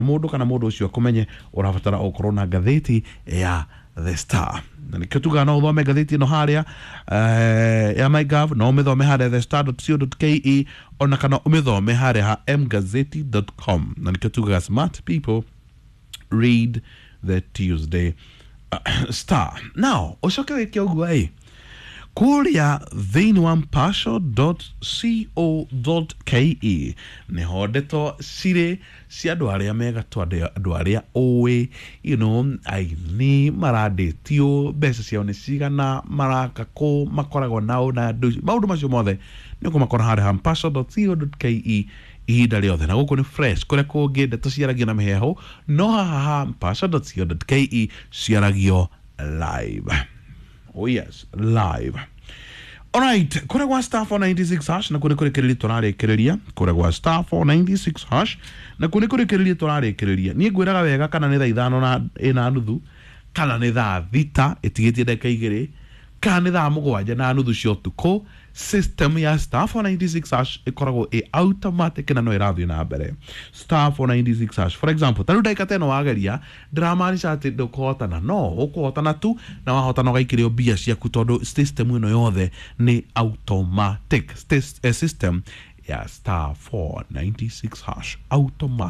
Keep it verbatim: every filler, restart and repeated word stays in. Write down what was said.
Mũndũ kana mũndũ ũcio akũmenye, ũrabatara ũkorwo na ngathĩti ya The Star, na nĩkĩo tugaga no ũthome ngathĩti ĩno harĩa eh, ya MyGov, no ũmĩthome harĩa the star dot co dot K E, ona kana ũmĩthome harĩa ha mgazeti dot com. Na nĩkĩo tugaga smart people read the Tuesday uh, Star. Now ũcoke wĩke ũguo ĩ kũrĩa thĩinĩ wa mpasho dot co dot K E nĩho ndeto cirĩ cia andũ arĩa megatwo, andũ andũ arĩa ũĩ, you know, aini marandĩtio mbeca ciao nĩ cigana, maraka kũ, makoragwo nao na andũ, maũndũ macio mothe nĩ ũkũmakora harĩa ha mpasho dot co dot K E ihinda rĩothe. Na gũkũ nĩ fresh, kũrĩa kũngĩ ndeto ciaragio na mĩheehũ, no haha ha mpasho dot co dot K E ciaragio live. Oh yes, live. Alright, kũrĩa gwa star four nine six hash, na kũrĩ kũrĩkĩrĩria tũrarĩkĩrĩria kũrĩa gwa star four nine six hash, na kũrĩ kũrĩkĩrĩria tũrarĩkĩrĩria. Niĩ ngwĩraga wega, kana nĩ thaa ithano na ĩna nuthu, kana nĩ thaa thita ĩtigĩtie ndagĩka igĩrĩ, kana nĩ thaa mũgwanja na nuthu cia ũtukũ, system ya star four nine six hash ĩkoragwo ĩ automatic na no ĩrathiĩ na mbere. star four nine six hash, for example, ta rĩu ndagĩka ta ĩno wageria, ndĩramaanisha atĩ ndũkũhotana, no ũkũhotana tu, na wahotana ũgaikĩrio mbia ciaku, tondũ system ĩno yothe nĩ automatic. Sys- eh, system ya star four nine six hash automatic.